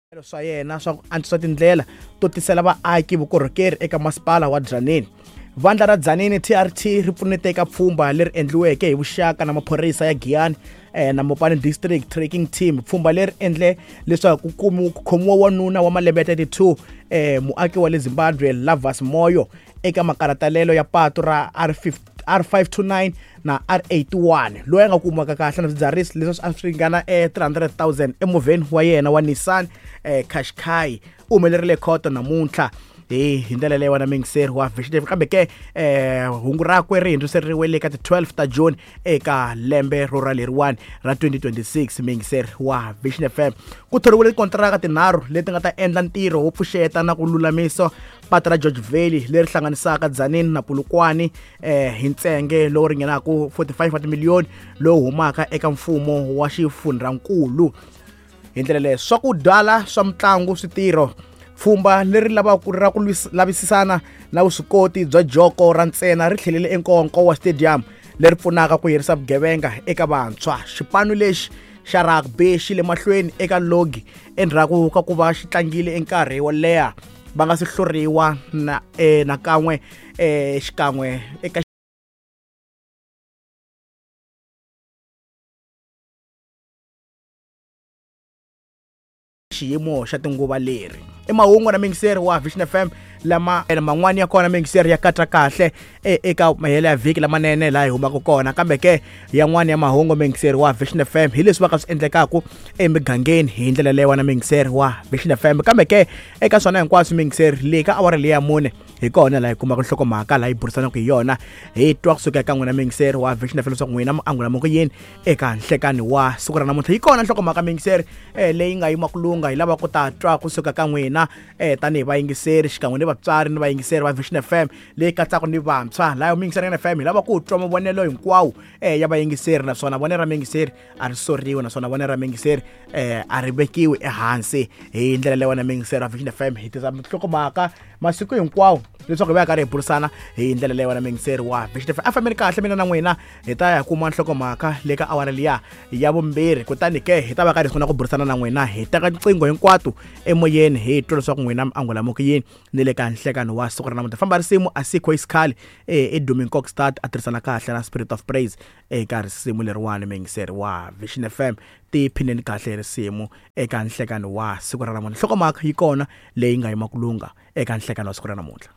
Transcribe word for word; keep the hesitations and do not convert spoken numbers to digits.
Swa yena swa ku antswisa tindlela to tisela vaaki vukorhokeri eka masipala wa Tzaneen. Vandla ra Tzaneen T R T ri pfunete eka pfhumba leri endliweke hi vuxaka na maphorisa ya Giyani eh, na Mopani District Tracking Team. Pfhumba leri endle leswaku ku khomiwa wanuna wa malembe ya thirty-two eh, muaki wa le Zimbabwe Lavas Moyo eka makaratalelo ya patu ra R five two nine na R eighty-one loyi a nga kumaka kahle na swidzidziharisi leswi a swi ringana eh, three hundred thousand emovheni wa yena wa Nissan eh, Qashqai. U humelerile khoto namuntlha hi hi ndlela leyi wena mingiseri wa Vision. Kambe ke eh hungu rakwe ri hundziseriwe le ka ti twelve ta June eka lembe ro ra leriwani ra twenty twenty-six. Mingiseri wa Vision F M ku thoriwile tikontiraka tinharhu leti nga ta endla ntirho wo pfuxeta na ku lulamisa patu ra George Valley leri hlanganisaka Tzaneen na Polokwane eh hi ntsenge lowu ringanaka forty-five wa timiliyoni lowu humaka eka mfumo wa xifundzankulu. Hi ndlela leyo swakudya swa mitlangu switirho pfhumba leri lavaka ra ku lavisisana na vuswikoti bya joko ra ntsena ri tlhelele eNkowankowa Stadium leri pfunaka ku herisa vugevenga eka vantshwa. Xipano lexi xa rugby xi le mahlweni eka logi endzhaku ka ku va xi tlangile enkarhi wo leha va nga si hluriwa na eh, nakan'we eh, xikan'we eka xiyimo xa tinguva leri. I mahungu na mingiseri wa Vision F M lama man'wani ya kona mingiseri ya katsa kahle eka mahelo ya vhiki lamanene laha hi humaka kona, kambe ke yan'wani ya mahungu mingiseri wa Vision F M hi leswi va ka swi endlekaka emigangeni hi ndlela leyi wena mingiseri wa Vision F M. Kambe ke eka swona hinkwaswo mingiseri leyi ka awara leyi ya mune hi kona laha hi kumaka nhlokomhaka laha hi burisanaka hi yona, hi twa kusuka eka n'wina mingiseri wa Vision F M leswaku n'wina mi angula ku yini eka nhlekani wa siku ra namuntlha. Yi kona nhlokomhaka mingiseri leyi nga yima ku lunga, hi lava ku ta twa kusuka ka n'wina eh tanihi vayingiseri xikan'we ni vatswari ni vayingiseri va Vision F M leyi katsaka ni vantshwa. Laha mingiseri ya F M hi lava ku twa mavonelo hinkwawo eh ya vayingiseri, naswona vonelo ra mingiseri a ri soriwi, naswona vonelo ra mingiseri eh a ri vekiwi ehansi. Hi ndlela leyi wena mingiseri wa Vision F M hi tisa nhlokomhaka masiku hinkwawo leswaku hi va karhi hi burisana hi ndlela leyi wena mingiseri wa Vision F M. A fambeni kahle mina na n'wina hi ta ya kuma nhlokomhaka le ka awara liya ya vumbirhi, kutani ke hi ta va karhi hi sungula ku burisana na n'wina, hi teka tinqingho hinkwato emoyeni hi twa leswaku n'wina mi angula ku yini ni le ka nhlekano wa siku ra namuntlha. Famba risimu asikho isikhali eh Edumin Kokstad a tirhisana kahle na Spirit of Praise eka risimu leriwani mingiseri wa Vision F M. Tiphineni kahle hi risimu eka nhlekano wa siku ra namuntlha. Nhlokomhaka yi kona leyi nga yima ku lunga eka nhlekano wa siku ra namuntlha.